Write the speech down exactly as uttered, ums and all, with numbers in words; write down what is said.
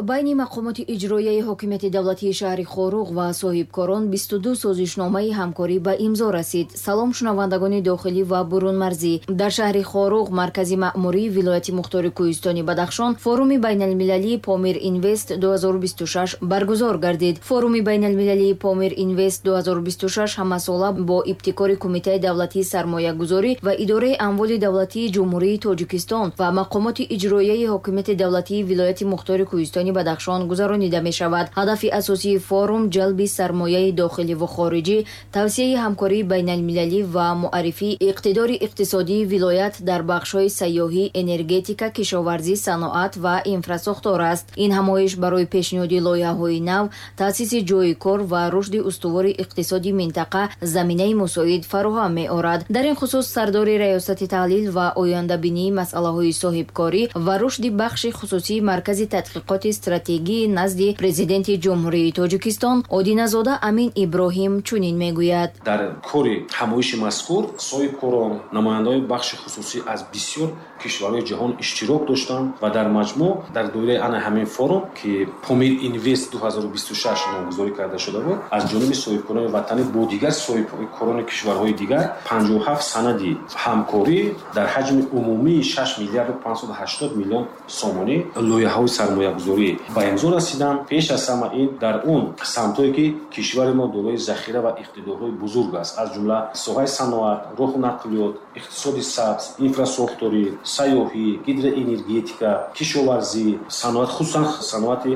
Байни мақомоти иҷроияи ҳокимияти давлатии шаҳри Хоруғ ва соҳибкорон бисту ду созишномаи ҳамкорӣ ба имзо расид. Салом, шунавандагони дохилӣ ва бурунмарзӣ. Дар шаҳри Хоруғ, маркази маъмурии вилояти мухтори Кӯҳистони Бадахшон, форуми байналмилалии Помир Инвест ду ҳазору бисту шаш баргузор гардид. Форуми байналмилалии Помир Инвест ду ҳазору бисту шаш ҳамасола бо ибтикори Кумитаи давлатии сармоягузорӣ ва идораи амволи давлатии Ҷумҳурии Тоҷикистон ва мақомоти иҷроияи ҳокимияти давлатии вилояти мухтори Кӯҳистони Бадахшон гузаронида мешавад. Ҳадафи асосии форум ҷалби сармояи дохилӣ ва хориҷӣ, тавсияи ҳамкории байналмилалӣ ва муаррифии иқтидори иқтисодии вилоят дар бахшҳои сайёҳӣ, энергетика, кишоварзӣ, саноат ва инфрасохтор аст. Ин ҳамоиш барои пешниҳоди лоиҳаҳои нав, таъсиси ҷойи кор ва рушди устувори иқтисоди минтақа заминаи мусоид фароҳам меорад. Дар ин хусус сардори раёсати таҳлил ва ояндабинии масъалаҳои соҳибкорӣ ва рушди бахши хусусии Маркази тадқиқоти стратегии назди президенти Ҷумҳурии Тоҷикистон Одиназода Амин Иброҳим чунин мегӯяд. Дар кори ҳамоиши мазкур соҳибкорон, намояндаҳои бахши хусусӣ аз бисёр кишварҳои ҷаҳон иштирок доштанд ва дар маҷмӯъ дар доираи ана ҳамин форум, ки Помир Инвест ду ҳазору бисту шаш номгузорӣ карда шуда буд, аз ҷониби соҳибкорони ватанӣ бо дигар соҳибкорони кишварҳои дигар панҷоҳу ҳафт санади ҳамкорӣ дар ҳаҷми умумии шаш миллиарду панҷсаду ҳаштод миллион сомонӣ лоиҳаҳои сармоягузорӣ ба имзо расиданд. Пеш аз ҳама ин дар он самтҳое, ки кишвари мо дорои захира ва иқтидорҳои бузург аст, аз ҷумла соҳаи саноат, роҳу нақлиёт, иқтисоди сабз, инфрасохторӣ, сайёҳӣ, гидроэнергетика, кишоварзӣ, саноат, хусусан саноати